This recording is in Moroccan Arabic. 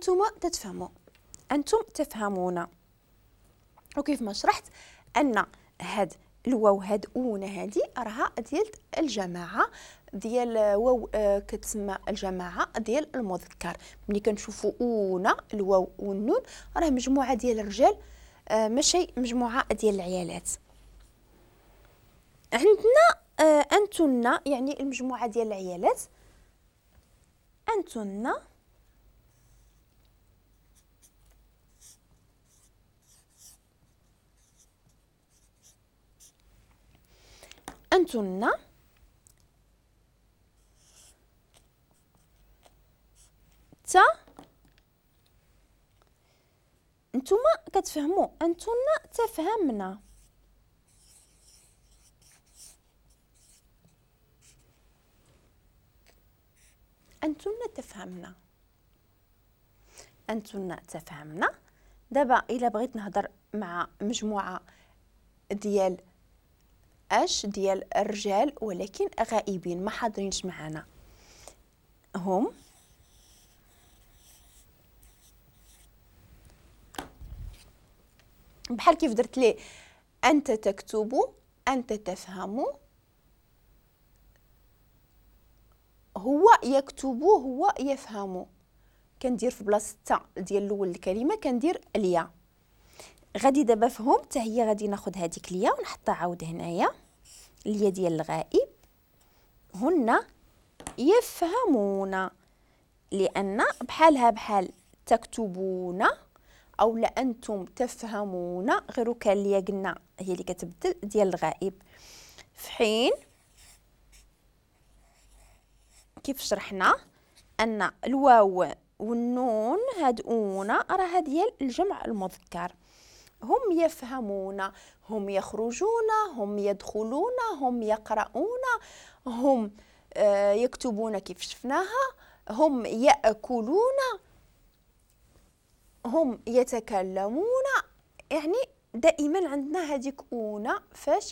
أنتم تتفهموا، أنتم تفهمون. وكيف ما شرحت أن هاد الواو هاد أون هادي راها ديال الجماعة، ديال واو كتسمى الجماعة ديال المذكر. ملي كنشوفوا أون الواو والنون راه مجموعة ديال الرجال، ماشي مجموعة ديال العيالات. عندنا أنتن يعني المجموعة ديال العيالات، أنتن أنتن ت نتوما كتفهموا، أنتن تفهمنا. أنتن تفهمنا، أنتن تفهمنا. دابا إلا بغيت نهضر مع مجموعة ديال اش ديال الرجال ولكن غائبين ما حاضرينش معنا، هم بحال كيف درت ليه أنت تكتب، أنت تفهم، هو يكتب، هو يفهم. كندير في بلاصة تا ديال الأول الكلمة كندير اليا. غادي دابا فهم حتى هي غادي ناخذ هذيك اليا ونحطها عاود هنايا، اليا ديال الغائب. هن يفهمون، لأن بحالها بحال تكتبون أو لا أنتم تفهمون، غير كان اليا قلنا هي اللي كتبدل ديال الغائب. في حين كيف شرحنا أن الواو والنون هاد أون راه ديال الجمع المذكر. هم يفهمون، هم يخرجون، هم يدخلون، هم يقرؤون، هم يكتبون كيف شفناها، هم يأكلون، هم يتكلمون. يعني دائما عندنا هذيك أون فاش